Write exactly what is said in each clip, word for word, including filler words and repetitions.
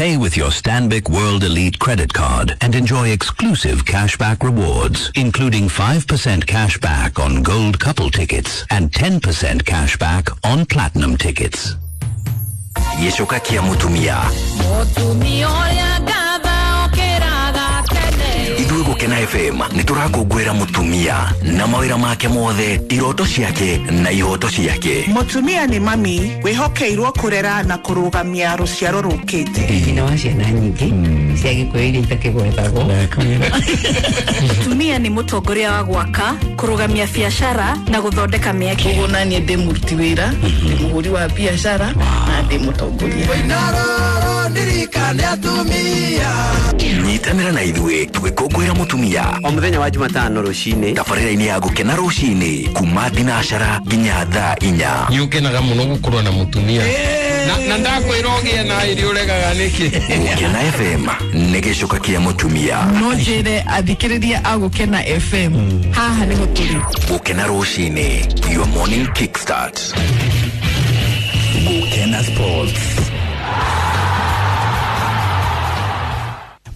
Pay with your Stanbic World Elite credit card and enjoy exclusive cashback rewards, including five percent cashback on gold couple tickets and ten percent cashback on platinum tickets. Gĩcoka kĩa mũtumia. Mũtumia ũrĩa ngatha okĩraga tene. Ithuĩ Gũkena F M nĩ tũrakũngũĩra mũtumia na mawĩra make mothe, iroto ciake na ihoto ciake. Mũtumia nĩ mami wĩhokeirwo kũrera na kũrũgamia rũciaro rũkĩte. Nyina wa ciana nyingĩ cia Gĩkũyũ iria itakĩgwetagwo. Mũtumia nĩ mũtongoria wa gwaka, kũrũgamia biacara na gũthondeka mĩeke. Koguo naniĩ ndĩ mũruti wĩra, ndĩ mũhũri wa biacara na ndĩ mũtongoria. Nyitanĩra na ithuĩ tũgĩkũngũĩra mũtumia o mũthenya wa Jumatano rũcinĩ tabarĩra-inĩ ya Gũkena rũcinĩ kuma thinacara nginya thaa inya. Nĩ ũkenaga mũno gũkorwo na mũtumia na, na ndakwĩra ũgĩe na ĩrĩ ũregaga nĩkĩ. Gũkena F M nĩ gĩcoka kĩa mũtumia. No njĩre athikĩrĩria a Gũkena F M, haha nĩho tũrĩ. Gũkena rũcinĩ, your morning kickstart. Gũkena Sports.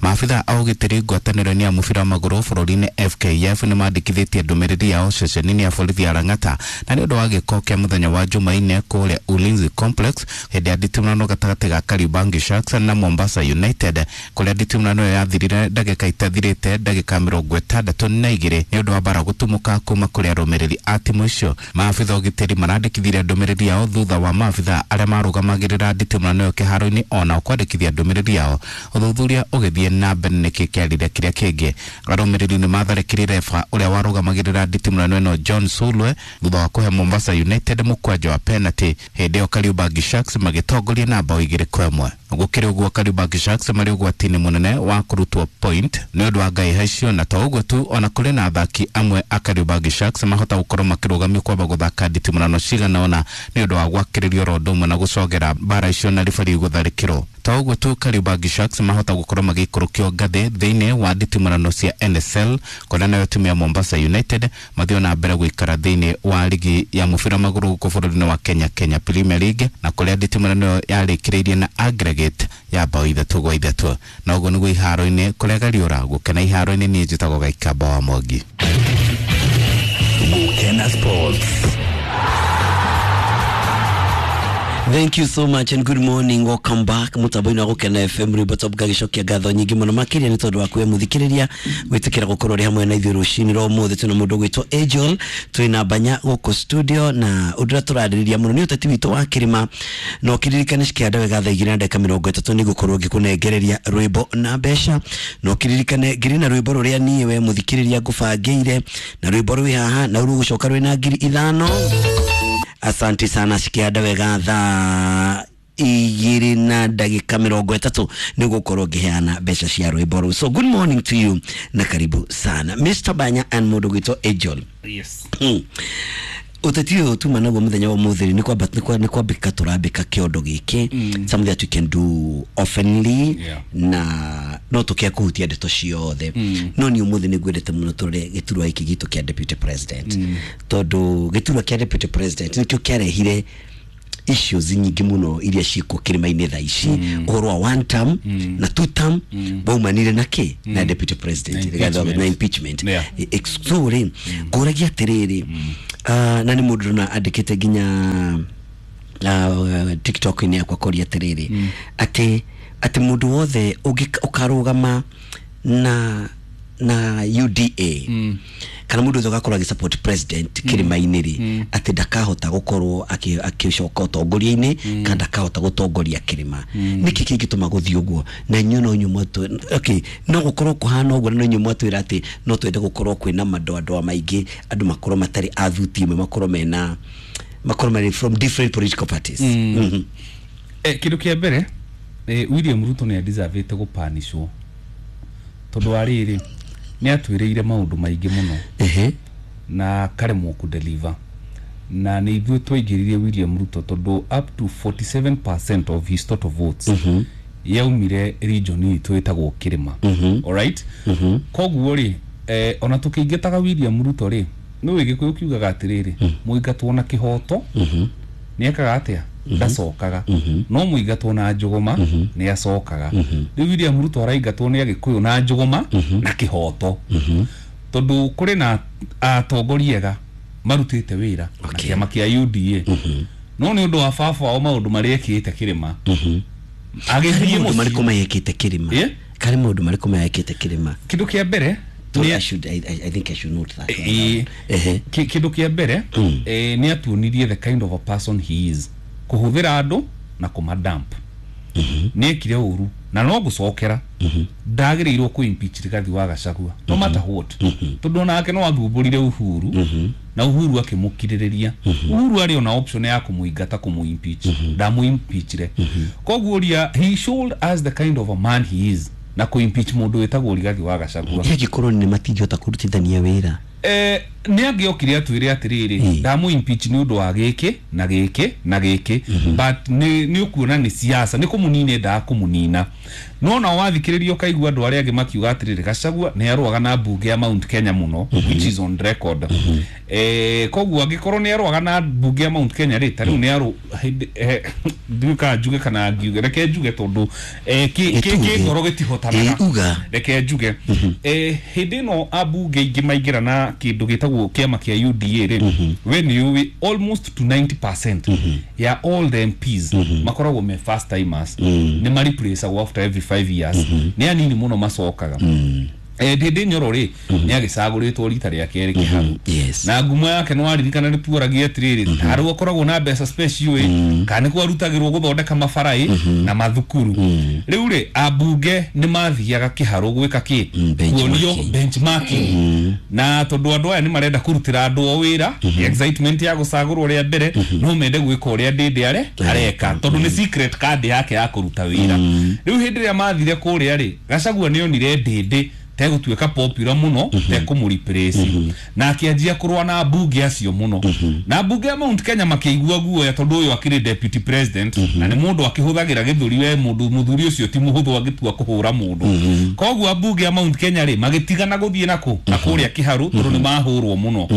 Maabitha a ũgitĩri ngwatanĩro-inĩ ya mũbira wa magũrũ bũrũri-inĩ F K F nĩ mandĩkithĩtie ndũmĩrĩri yao ceceni-inĩ ya borithi ya Lang'ata na nĩ ũndũ wa gĩko kĩa mũthenya wa Jumaine kũrĩa Ulinzi Complex hĩndĩ ya nditimũrano gatagatĩ ga Kariobangi Sharks na Mombasa United, kũrĩa nditimũrano ĩyo yathirire ndagĩka itathirĩte ndagĩka mĩrongo ĩtandatũ na igĩrĩ nĩ ũndũ wa mbara gũtumũka kuma kũrĩ arũmĩrĩri a timu icio. Maabitha ũgitĩri marandĩkithirie ndũmĩrĩri yao thutha wa maabitha arĩa marũgamagĩrĩra nditimũrano ĩyo kĩharo-inĩ onao kwandĩkithia ndũmĩrĩri yao. Ũthuthuria ũgĩthiĩ na mbere nĩkĩ kĩarire kĩrĩa kĩngĩ. Arũmĩrĩri nĩ matharĩkĩire refa ũrĩa warũgamagĩrĩra nditimũrano ĩno John Sulwe thutha wa kũhe Mombasa United mũkwanjo wa penalty. Hĩndĩ ĩyo Kariobangi Sharks magĩtongoria na bao igĩrĩ kwa ĩmwe. Gũkĩrĩ ũguo, Kariobangi Sharks marĩ ũgwati-inĩ mũnene wa kũrutwo point nĩ ũndũ wa ngaiha icio, na to ũguo tu, ona kũrĩ na athaki amwe a Kariobangi Sharks mahota gũkorwo makĩrũgamio kwamba gũthaka nditimũrano cigana ũna nĩ ũndũ wa gwakĩrĩrio rondo ũmwe na gũcogera mbara icio na ribari gũtharĩkĩrwo. To ũguo tu, Kariobangi Sharks mahota gũkorwo magĩikũrũkio ngathĩ thĩinĩ wa nditimũrano cia N S L, kũrĩa nayo timu ya Mombasa United mathiĩ na mbere gũikara thĩinĩ wa ligi ya mũbira wa magũrũ gũkũ bũrũri-inĩ wa Kenya, Kenya Premier League, na kũrĩa nditimũrano ĩyo yarĩkĩrĩirie na aggregate ya bao ithatũ gwa ithatũ. Na ũguo nĩguo iharo-inĩ kũrĩa gariũra gũkena iharo-inĩ. Niĩ njĩtagwo Gaikamba wa Mwangi. Gũkena Sports. Thank you so much and good morning. Welcome back. Mutambo-inĩ wa Gũkena F M, rwĩmbo top gagĩcokia ngatho nyingĩ mũno makĩria nĩ tondũ wa kwĩ mũthikĩrĩria gwĩtĩkĩra gũkorwo ũrĩ hamwe na ithuĩ rũcinĩ rwa ũmũthĩ. Twĩna mũndũ ũgwĩtwo Angel, twĩna Banya gũkũ studio, na ũndũ ũrĩa tũrarĩrĩria mũno nĩ ũteti witũ wa kĩrĩma. Na ũkĩririkane cikĩanda wega thaa igĩrĩ na ndagĩka mĩrongo ĩtatũ nĩ ngũkorwo ngĩkũnengereria rwĩmbo na mbeca. Na ũkĩririkane ngiri na rwĩmbo rũrĩa niĩ we mũthikĩrĩria ngũbangĩire, na rwĩmbo rwĩ haha na rũgũcoka rwĩna ngiri ithano. Asante sana. Cikianda wega thaa igĩrĩ na ndagĩka mĩrongo ĩtatũ nĩ gũkorwo ngĩheana mbeca cia rwĩmbo rũu. So good morning to you na karibu sana, Mister Banya and mũndũ gwĩtwo Angel. Yes. Hmm. Ũteti ũyũ tuma naguo mũthenya wa ũmũthĩ nĩ kwamba nĩ kwa- nĩ kwambĩka tũrambĩka kĩondo gĩkĩ, something that we can do oftenly. Yeah. Na no tũkĩa kũhutia ndeto ciothe, no niĩ ũmũthĩ nĩ ngwendete mũno tũrore gĩturwa gĩkĩ gitũ kĩa deputy president, tondũ gĩturwa kĩa deputy president nĩkĩo kĩarehire issues nyingĩ mũno iria ciĩkuo kĩrĩma-inĩ thaa ici. Ũhoro wa one term na two term waumanire na kĩ? Na deputy president. Na Rigathi wa- impeachment. Na impeachment. Yeah. E- ex- so rĩ ngũragia atĩrĩrĩ, ah, na nĩ mũndũ ndona andĩkĩte nginya uh, TikTok-inĩ yakwa koria atĩrĩrĩ, atĩ atĩ mũndũ wothe ũngĩ- ũkarũgama na na U D A kana mũndũ wothe ũgakorwo agĩsupport president kĩrĩma-inĩ rĩ, atĩ ndakahota gũkorwo akĩ- agĩcoka ũtongoria-inĩ kana ndakahota gũtongoria kĩrĩma. Nĩkĩ kĩngĩtũma gũthiĩ ũguo? Na inyuĩ no inyuĩ mwatũ, okay, no gũkorwo kũhana ũguo, na no inyuĩ mwatwĩra atĩ no twende gũkorwo kwĩna madoadoa maingĩ, andũ makorwo matarĩ a thuti ĩmwe, makorwo mena makorwo marĩ from different political parties. Mhm. Eh, kĩndũ kĩa mbere, eh, William Ruto nĩ adeservĩte gũpanishwo tondũ wa rĩrĩ nĩ atwĩrĩire maũndũ maingĩ mũno Ehe. na karemwo kũdeliver, na nĩ ithuĩ twaingĩririe William Ruto tondũ up to forty-seven percent of his total votes yaumire region itũ ĩtagwo kĩrĩma. Alright, koguo rĩ, eh, ona tũkĩingĩtaga William Ruto rĩ, nĩ gĩkũyũ kiugaga atĩrĩrĩ, mũingatwo na kĩhoto nĩ ekaga atĩa? ndacokaga no mũingatwo na njũgũma nĩ acokaga. Rĩu William Ruto araingatwo nĩ Agĩkũyũ na njũgũma na kĩhoto, tondũ kũrĩ na atongoria ega marutĩte wĩra na kĩama kĩa U D A, no nĩ ũndũ wa baba wao maũndũ marĩa ekĩte kĩrĩma agĩthiĩ maũndũ marĩkũ mekĩte kĩrĩma karĩ maũndũ marĩkũ mekĩte kĩrĩma. Kĩndũ kĩa mbere I should I, I think I should note that. Kĩndũ kĩa mbere nĩ atuonirie the kind of a person he is, kũhũthĩra andũ na kũmadamp. Nĩ ekire ũru na no gũcokera ndagĩrĩirwo kũ impeach Rigathi wa Gachagua no matter what, tondũ onake no athumbũrire Uhuru na Uhuru akĩmũkirĩrĩria. Uhuru arĩ ona option ya kũmũingata kũmũ impeach, ndamũ-impeachire. Koguo ria he showed us the kind of a man he is na kũ impeach mũndũ wĩtagwo Rigathi wa Gachagua. Angĩkorwo nĩ matingĩhota kũrutithania wĩra eh nĩ angĩokire atwĩre atĩrĩrĩ ndamũ impeach nĩ ũndũ wa gĩkĩ na gĩkĩ na gĩkĩ, but nĩ nĩ ũkuona nĩ siasa nĩ kũmũnina endaga kũmũnina. No na wathikĩrĩria ũkaigua andũ arĩa angĩ makiuga atĩrĩrĩ Gachagua nĩ arũaga na mbunge ya Mount Kenya mũno, which is on record. Eh koguo angĩkorwo nĩ arũaga na mbunge ya Mount Kenya rĩ, ta rĩu nĩ arũ ndiũĩ njuge kana ngiuge, reke njuge tondũ kĩ ngoro gĩtihotanaga, reke njuge hĩndĩ ĩno ambunge aingĩ maingĩra na kĩndũ gĩtagwo kĩama kĩa U D A rĩ, we nĩ ũĩ almost to ninety percent ya all the M Ps makoragwo me first timers, nĩ mareplaceagwo after every five years, nĩ anini mũno macokaga. Ndĩndĩ Nyoro rĩ nĩ agĩcagũrĩtwo rita rĩa kerĩ Kĩharu, na ngumo yake nĩ waririkana nĩ tuoragia atĩrĩrĩ tarĩu akoragwo na mbeca special ĩ kana nĩ kwarutagĩrwo gũthondeka mabara ĩ na mathukuru. Rĩu rĩ ambunge nĩ mathiaga Kĩharu gwĩka kĩ kuonio benchmarking, na tondũ andũ aya nĩ marenda kũrutĩra andũ o wĩra, excitement ya gũcagũrwo rĩa mbere no mende gwĩka ũrĩa Ndĩndĩ are areka tondũ nĩ secret card yake ya kũruta wĩra. Rĩu hĩndĩ ĩrĩa mathire kũrĩa rĩ, Gachagua nĩ onire Ndĩndĩ tegũtuĩka popular mũno tekũmũreplace, na akĩanjia kũrũa na mbunge acio mũno, na mbunge ya Mount Kenya makĩigua guoya tondũ ũyũ akĩrĩ deputy president na nĩ mũndũ akĩhũthagĩra gĩthũri, we mũndũ mũthuri ũcio ti mũhũthũ angĩtua kũhũra mũndũ. Koguo mbunge ya Mount Kenya rĩ magĩtigana gũthiĩ nakũ na kũrĩa Kĩharu tondũ nĩ mahũrwo mũno.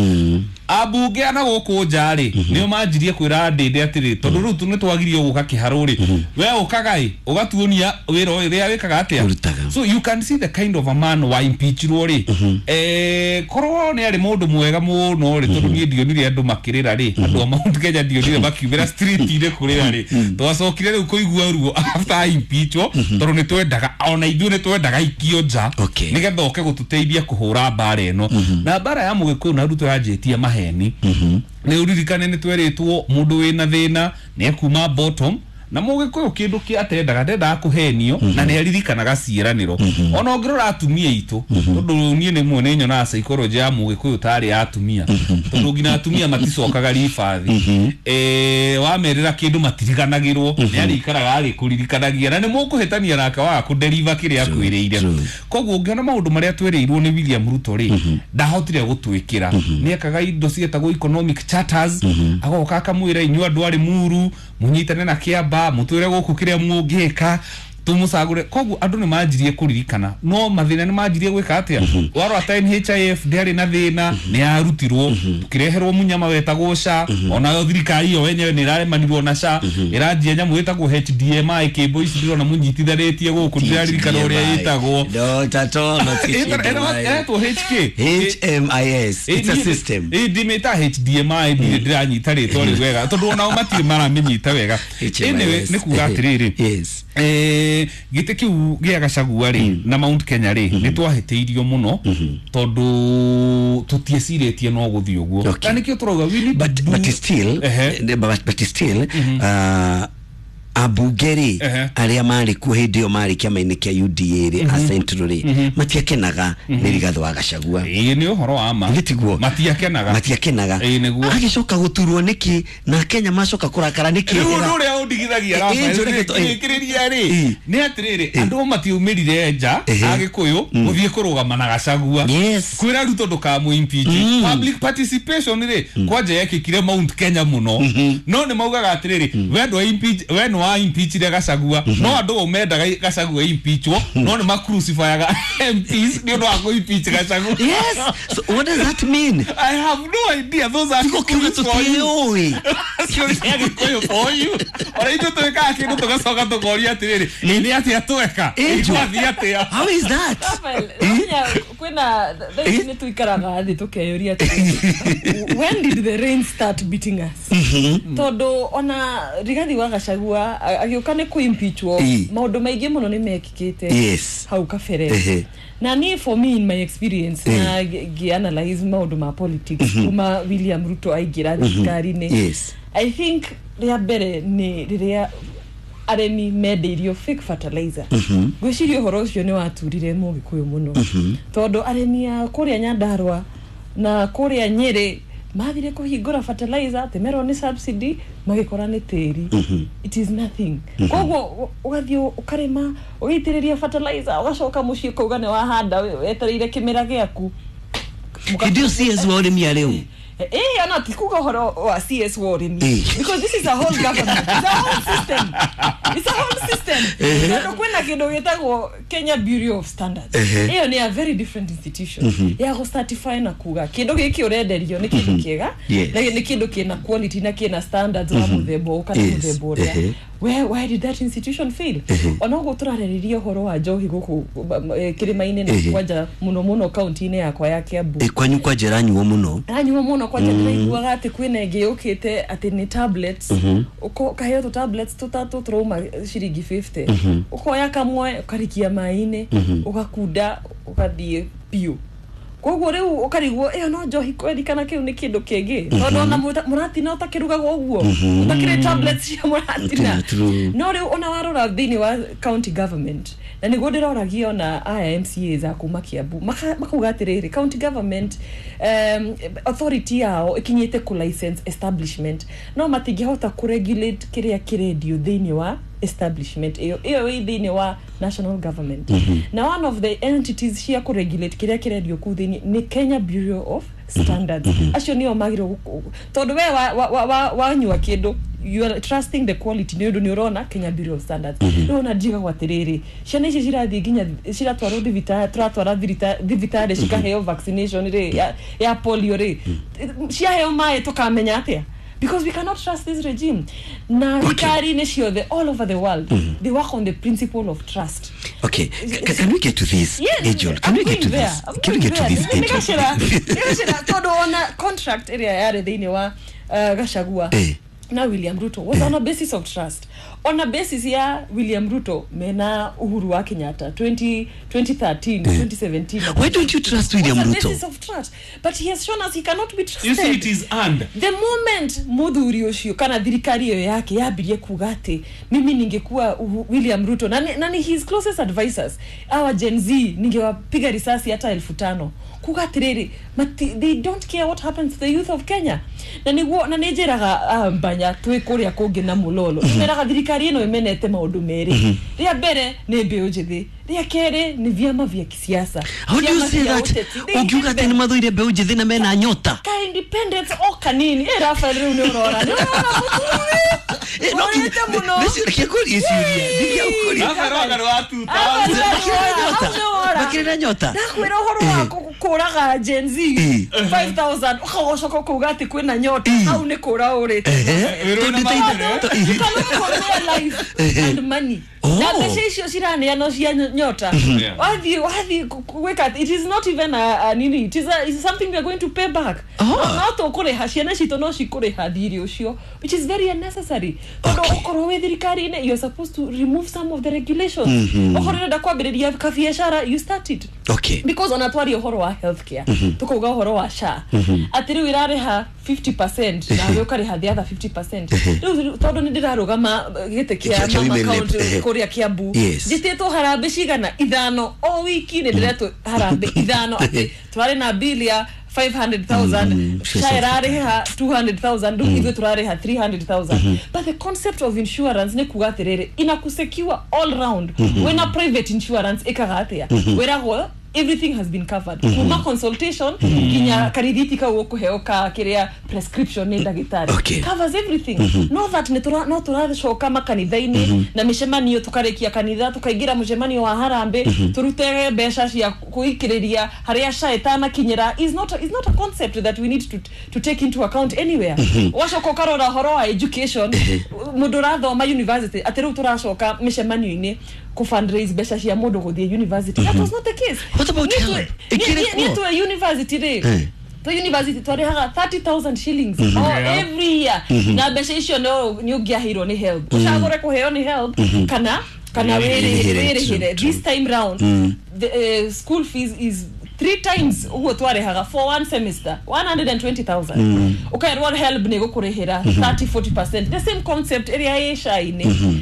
Ambunge ana gũkũ nja rĩ nĩo manjirie kwĩra Ndĩndĩ atĩrĩ tondũ rĩu nĩ twagirio gũka Kĩharu rĩ, we ũkaga ĩ ũgatuonia wĩra ũrĩa wĩkaga atĩa. So you can see the kind of a man wa impeachirwo rĩ, eh korwo nĩ arĩ mũndũ mwega mũno rĩ, tondũ niĩ ndionire andũ makĩrĩra rĩ, andũ a Mount Kenya ndionire makiumĩra street-inĩ kũrĩra rĩ, twacokire rĩu kũigua ruo after impeachwo tondũ nĩ twendaga ona ithuĩ nĩ twendaga ikio nja nĩgetha oke gũtũteithia kũhũra mbara ĩno. Na mbara ya Mũgĩkũyũ na Ruto yanjĩtie maheni. Nĩ ũririkane nĩ twerĩtwo mũndũ wĩna thĩna nĩ ekuma bottom, na Mũgĩkũyũ kĩndũ kĩa atendaga ndendaga kũhenio na nĩ aririkanaga ciĩranĩro. Ona ũngĩrora atumia aitũ, tondũ niĩ nĩ muone nyonaga psychology ya Mũgĩkũyũ tarĩ ya atumia, tondũ nginya atumia maticokaga ribathi, eh wamerĩra kĩndũ matiriganagĩrwo, nĩ arĩikaraga agĩkũririkanagia na nĩ mũkũhĩtania nake waga kũdeliver kĩrĩa akwĩrĩire. Koguo ũngĩona maũndũ marĩa twĩrĩirwo nĩ William Ruto rĩ, ndahotire gũtwĩkĩra. Nĩ ekaga indo ciĩtagwo economic charters, agoka akamwĩra inyuĩ andũ arĩ muru mũnyitane na Kĩamba mutwire gũkũ kĩrĩa mũngĩka tũmũcagũre. Koguo andũ nĩ manjirie kũririkana, no mathĩna nĩ manjirie gwĩka atĩa. Warora ta N H I F ndĩarĩ na thĩna, nĩ yarutirwo tũkĩreherwo mũnyama wetagwo S H A, onayo thirikari ĩyo yenyewe nĩ ĩraremanirwo na S H A, ĩranjia nyamũ ĩtagwo H D M I kĩmbo ici ndĩrona mũnyitithanĩtie gũkũ ndĩraririkana ũrĩa ĩtagwo. Ĩretwo H K H M I S, it's a system. Ndimĩta H D M I ndirĩ ndĩranyita rĩtwa rĩu wega tondũ onao matirĩ maramĩnyita wega. Anyway, nĩ kuga atĩrĩrĩ, eh gĩtĩ kĩu gĩa Gachagua rĩ na Mount Kenya rĩ nĩ twahĩtĩirio mũno tondũ tũtiecirĩtie no gũthiĩ ũguo, na nĩkĩo tũrauga we need but but still but but still uh ambunge rĩ arĩa marĩ kuo hĩndĩ ĩyo marĩ kĩama-inĩ kĩa U D A rĩ a Central rĩ matiakenaga nĩ Rigathi wa Gachagua. Ĩĩ nĩ ũhoro wa ma, nĩtiguo matiakenaga matiakenaga. Ĩĩ nĩguo. Agĩcoka gũturwo nĩkĩ na Kenya macoka kũrakara nĩkĩ? Rĩu ũndũ ũrĩa ũrĩa ũndigithagia Rafael kĩrĩria rĩ nĩ atĩrĩrĩ andũ matiumĩrire nja Agĩkũyũ gũthiĩ kũrũgama na Gachagua kwĩra Ruto ndũkamũ impeach. Public participation rĩ kwanja yekĩkire Mount Kenya mũno, no nĩ maugaga atĩrĩrĩ we ndwa impeach, we nĩ wa impeachire Gachagua, no andũ mendaga Gachagua impeachwo, no nĩ macrucifyaga M Ps nĩ ũndũ wa kũ impeach Gachagua. Yes, so what does that mean? I have no idea. Those are Kikuyu for you. Kikuyu for you. Ora ithuĩ twĩkaga kĩndũ tũgacoka tũkoria atĩrĩrĩ nĩ atĩa tweka? Twathiĩ atĩa? How is that? Kwĩna thaa ici nĩ tũikaraga thĩ tũkeyũria atĩrĩrĩ, when did the rain start beating us? Tondũ ona Rigathi wa Gachagua agĩũka nĩ kũ-impeachwo, maũndũ maingĩ mũno nĩ mekĩkĩte hau kabere. Na ni for me in my experience na ngĩ-analyze maũndũ ma politics kuma William Ruto aingĩra thirikari-inĩ, I think rĩa mbere nĩ rĩrĩa arĩmi mendeirio fake fertilizer. Ngwĩciria ũhoro ũcio nĩ waturire Mũgĩkũyũ mũno, tondũ arĩmi a kũrĩa Nyandarua na kũrĩa Nyĩrĩ mathire kũhingũra fertilizer atĩ merwo nĩ subsidy, magĩkora nĩ tĩri. It is nothing. Koguo ũgathiĩ ũkarĩma ũgaitĩrĩria fertilizer ũgacoka mũciĩ ũkauga nĩ wahanda wetereire kĩmera gĩaku. Hĩndĩ ĩyo C S wa ũrĩmi arĩ ũ? Eh, ana tikuga ũhoro wa C S wa ũrĩmi, because this is a whole government, it's a whole system, it's a whole system. Tondũ kwĩna kĩndũ gĩtagwo Kenya Bureau of Standards. Ĩyo nĩ a very different institution ya gũ certify na kuga kĩndũ gĩkĩ ũrenderio nĩ kĩndũ kĩega na nĩ kĩndũ kĩna quality na kĩna standards wa mũthemba ũyũ kana mũthemba ũrĩa. Where, why did that institution fail? Ona ũguo tũrarĩrĩria ũhoro wa njohi gũkũ kĩrĩma-inĩ na kwanja mũno mũno kaunti-inĩ yakwa ya Kiambu. Kwanyu kwanja ĩranyuo mũno? Ĩranyuo mũno kwanja ndĩraiguaga atĩ kwĩna ĩngĩ yũkĩte atĩ nĩ tablets. Ũkaheo tũ tablets tũtatũ tũrauma ciringi fifty. Ũkoya kamwe ũkarikia maĩ-inĩ, ũgakunda ũgathiĩ biũ. Koguo rĩu ũkarigwo ĩyo no njohi kweri kana kĩu nĩ kĩndũ kĩngĩ, tondũ ona mũratina ũtakĩrugagwo ũguo, ũtakĩrĩ tablets cia mũratina. No rĩu ona warora thĩinĩ wa county government, na nĩguo ndĩroragia ona aya M C As a kuma Kiambu makauga atĩrĩrĩ, county government um, authority yao ĩkinyĩte kũ license establishment, no matingĩhota kũ regulate kĩrĩa kĩrendio thĩinĩ wa establishment ĩyo ĩyo ĩ thĩinĩ wa national government. Na one of the entities cia kũ regulate kĩrĩa kĩrendio kũu thĩinĩ nĩ Kenya Bureau of Standards. Acio nĩo magĩrĩirwo, tondũ we wanyua kĩndũ you are trusting the quality nĩ ũndũ nĩ ũrona Kenya Bureau of Standards. Rĩu ona njigagwo atĩrĩrĩ, ciana ici cirathiĩ nginya ciratwarwo thibitarĩ, tũratwara thibitarĩ cikaheo vaccination rĩ ya, ya polio rĩ, ciaheo maĩ tũkamenya atĩa? Because we cannot trust this regime. Na thirikari nĩ ciothe all over the world, mm-hmm. they work on the principle of trust. Okay, C can we get to this, yes, Angel? Can I'm we get to there. this? I'm Can we get to there. this, Angel? Nĩgacĩra tondũ ona contract ĩrĩa yarĩ thĩinĩ wa uh, Gachagua eh. na William Ruto was on a basis of trust. On a basis ya William Ruto mena Uhuru wa Kenyatta twenty thirteen, twenty seventeen. Why don't you trust William on a Ruto? Basis of trust. But he has shown us he cannot be trusted. You see, it is earned. The moment muthuri ucio kana thirikari iyo yake yambirie kuga ati mimi ningekuwa William Ruto nani, nani his closest advisors our Gen Z ningewapiga risasi hata elfu tano kuga atiriri they don't care what happens to the youth of Kenya. Na niguo na nijiraga mbanya twi kuria kungi na mulolo imeraga thirikari ino imenete maundu meri ria mbere ni mbiu njithi ria keri ni vyama vya kisiasa. How do you say that? Ukiuga ati ni mathuire mbiu njithi na mena nyota ka independence o kanini eh Rafael riu ni urora ni urora eh no nä makĩrĩ na nyota ndakwĩra ũhoro wa kũraga Gen Z five thousand ũgacoka ũkauga atĩ kwĩna nyota hau nĩ kũra ũrĩte and money na mbeca icio ciraneanwo cia nyota wathiĩ wathiĩ gwĩka it is not even a, a nini it is a, it is something we are going to pay back. No tũkũrĩha ciana citũ no cikũrĩha thirĩ ũcio which is very unnecessary. Tondũ ũkorwo wĩ thirikari-inĩ you are supposed to remove some of the regulations. Okorwo ũrenda kwambĩrĩria kabiacara you start it. Okay. Because ona twari ũhoro wa healthcare tukauga ũhoro wa S H A atĩ rĩu ĩrarĩha fifty percent na we ũkarĩha the other fifty percent. Rĩu tondũ nĩ ndĩrarũgama gĩtĩ kĩa mama county kũrĩa Kiambu njĩtĩtwo harambĩ cigana ithano o wiki nĩ ndĩretwo harambĩ ithano atĩ twarĩ na bill ya five hundred thousand Mm, SHA ĩrarĩha two hundred thousand rĩu ithuĩ tũrarĩha three hundred thousand. But the concept of insurance nĩ kuga atĩrĩrĩ, inakusecure all round. Wĩna private insurance ĩkaga atĩa? Wĩragwo everything has been covered, kuma consultation nginya karithiti kau ũkũheo ka kĩrĩa prescription nĩ ndagĩtarĩ. Okay. Covers everything. No that nĩ tũra- no tũracoka makanitha-inĩ na mĩcemanio, tũkarĩkia kanitha tũkaingĩra mũcemanio wa harambĩ, tũrute mbeca cia kũikĩrĩria harĩa SHA ĩtanakinyĩra is not is not a concept that we need to, to take into account anywhere. Wacoka ũkarora ũhoro wa education, mũndũ ũrathoma university, atĩ rĩu tũracoka mĩcemanio-inĩ kũ fundraise mbeca cia mũndũ gũthiĩ university. That was not the case. What about Niĩ health? twĩ- Ĩkĩrĩ niĩ- niĩ kuo? twĩ university rĩ, Eh. twa university twarĩhaga thirty thousand shillings oh, Yeah. every year, na mbeca icio no nĩ ũngĩaheirwo nĩ HELB, ũcagũre kũheo nĩ HELB kana kana Wĩrĩhĩre, wĩrĩhĩre. True, true. This time round the uh, school fees is three times ũguo twarĩhaga for one semester, one hundred and twenty thousand. Ũkerwo HELB nĩ gũkũrĩhĩra thirty forty percent. The same concept ĩrĩa ĩ SHA-inĩ,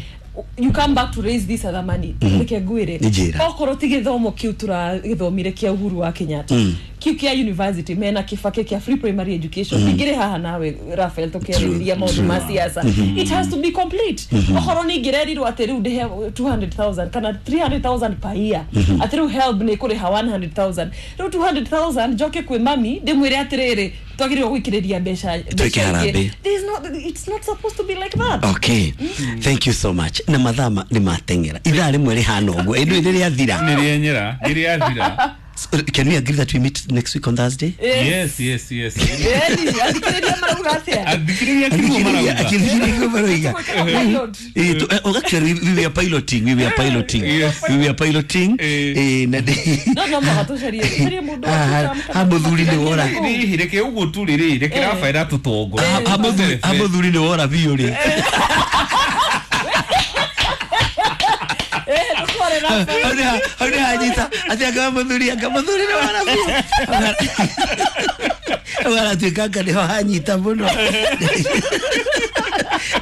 you come back to raise this other money. Reke ngwĩre, Njĩra. okorwo ti gĩthomo kĩu tũragĩthomire kĩa Uhuru wa Kenyatta, kĩu kĩa university mena Kibaki kĩa free primary education, ingĩrĩ haha nawe Raphael tũkĩarĩrĩria maũndũ ma siasa. It has to be complete. Okorwo nĩ ingĩrerirwo atĩ rĩu ndĩhe two hundred thousand kana three hundred thousand per year, atĩ rĩu HELB nĩ ĩkũrĩha one hundred thousand, rĩu two hundred thousand njoke kwĩ mami ndĩmwĩre atĩrĩrĩ, twagĩrĩirwo gũikĩrĩria mbeca Twĩke mbeca ingĩ. harambee. There is not, it's not supposed to be like that. Okay, thank you so much. Na mathaa ma- nĩ mateng'era, ithaa rĩmwe rĩhana ũguo ĩndũ ĩrĩ rĩathira. Nĩ rĩenyera, nĩ rĩathira. So, can we agree that we meet next week on Thursday? Yes, yes, yes. Ĩni, athikĩrĩria marauga atĩa? Athikĩrĩria kiugo marauga. Akithikĩrĩria marauga. Pilot. Eh, tu- eh, oh, actually we, we were piloting, we were piloting. Yes. We were piloting. Eh. Eh, na ndĩ- No no mũhaka tũcarie tũcarie mũndũ wa Ah, gũcamka. ha mũthuri nĩ wora. Rĩrĩ, reke ũguo tũrĩ rĩ, reke Raphael atũtongorie. Ha- ha mũthuri- ha mũthuri nĩ wora biũ rĩ. Eh, tũtware Raphael. Hau nĩ ha- hau nĩ hanyita atĩ anga mũthuri, anga mũthuri nĩ wora biũ. Hau haratuĩka anga nĩho hanyita mũno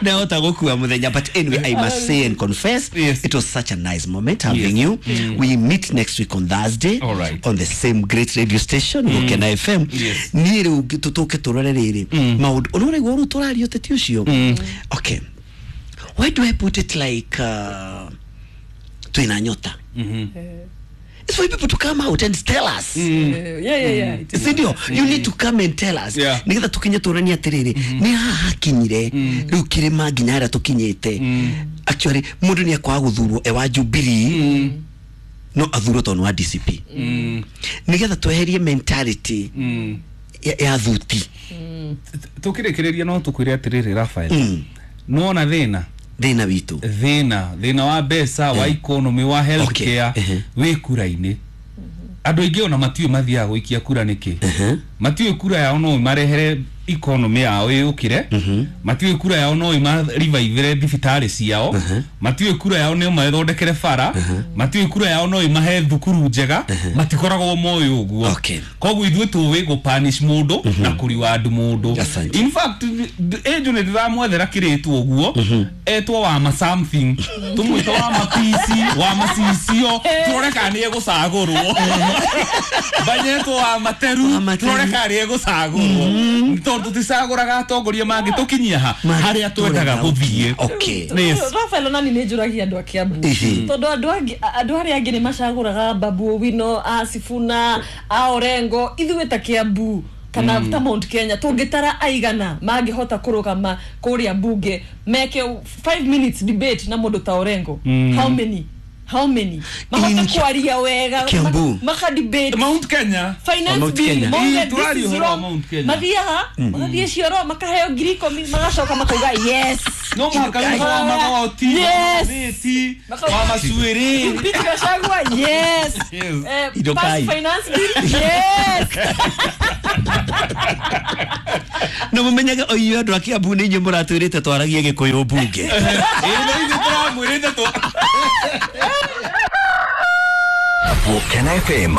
ndahota gũkua mũthenya. But anyway, I must say and confess, Yes. it was such a nice moment having Yes. you. We meet next week on Thursday All right. on the same great radio station, Gũkena F M. Yes. Niĩ rĩu tũtũke tũrore rĩrĩ maũndũ ũrĩa ũraigua ũrĩa tũraria ũteti ũcio. Okay, why do I put it like uh, twĩna nyota? It's for people to come out and tell us. Eh, yeah, yeah, yeah, it is. Sindio? You need to come and tell us. Yeah. Nigetha tukinye tũranie atĩrĩrĩ, nĩ haha hakinyire rĩu kĩrĩma nginya harĩa tũkinyĩte. Actually mũndũ nĩ akwaga gũthurwo e wa Jubilee, no athurwo tondũ nĩ wa D C P, nigetha tweherie mentality ya, ya thuti. Tũkĩrĩkĩrĩria no tũkwĩre atĩrĩrĩ Raphael, nĩwona thĩna thĩna witũ, thĩna thĩna wa mbeca, wa economy, wa health Okay. care Ehe. wĩ kura-inĩ. Andũ aingĩ ona matiũĩ mathiaga gũikia kura nĩkĩ, matiũĩ kura yao no ĩmarehere economy yao ĩũkĩre, matiũĩ kura yao no ĩmarivivĩre thibitarĩ ciao, matiũĩ kura yao no ĩmathondekere bara, matiũĩ kura yao no ĩmahe thukuru njega, matikoragwo moĩ ũguo. Okay. Koguo ithuĩ tũĩ gũpanish mũndũ na kũreward mũndũ. Asante. In fact, Angel nĩ ndĩramwethera kĩrĩtwo ũguo, etwo wama something, tũmwĩte wama P C, wama cicio, tũrore kana nĩ egũcagũrwo. Banyetwo wama teru, Wama teru. tũrore kana nĩ egũcagũrwo, tondũ tũticagũraga atongoria mangĩtũkinyia ha harĩa twendaga gũthiĩ. Okay. Yes. Raphael, onani nĩ njũragia andũ a Kiambu, Ihi. tondũ andũ angĩ- andũ arĩa angĩ nĩ macagũraga Babu Owino, a Sifuna, a Orengo. Ithuĩ ta Kiambu kana ta Mount Kenya tũngĩtara aigana mangĩhota kũrũgama kũrĩa mbunge meke five minutes debate na mũndũ ta Orengo? How many? How many mahote In- kwaria wega, Kiambu. maka debate Mount Kenya. finance Mount bill Kenya. mauge Ii, this tũraria is ũhoro wa wrong. Mount Kenya. Mathiaga magathiĩ cioro, makaheo ngiri ikũmi, magacoka makauga yes. No mũhaka wĩho wa magoti, Yes. mĩti, wa macuĩrĩ. Impeach Gachagua, yes. Yes. Eh, Indo pass kai. finance bill, yes. Na mũmenyage o inyuĩ andũ a Kiambu nĩ inyuĩ mũratwĩrĩte twaragie gĩkũyũ mbunge. Ĩĩ, no ithuĩ tũramwĩrĩte tũ Gũkena F M.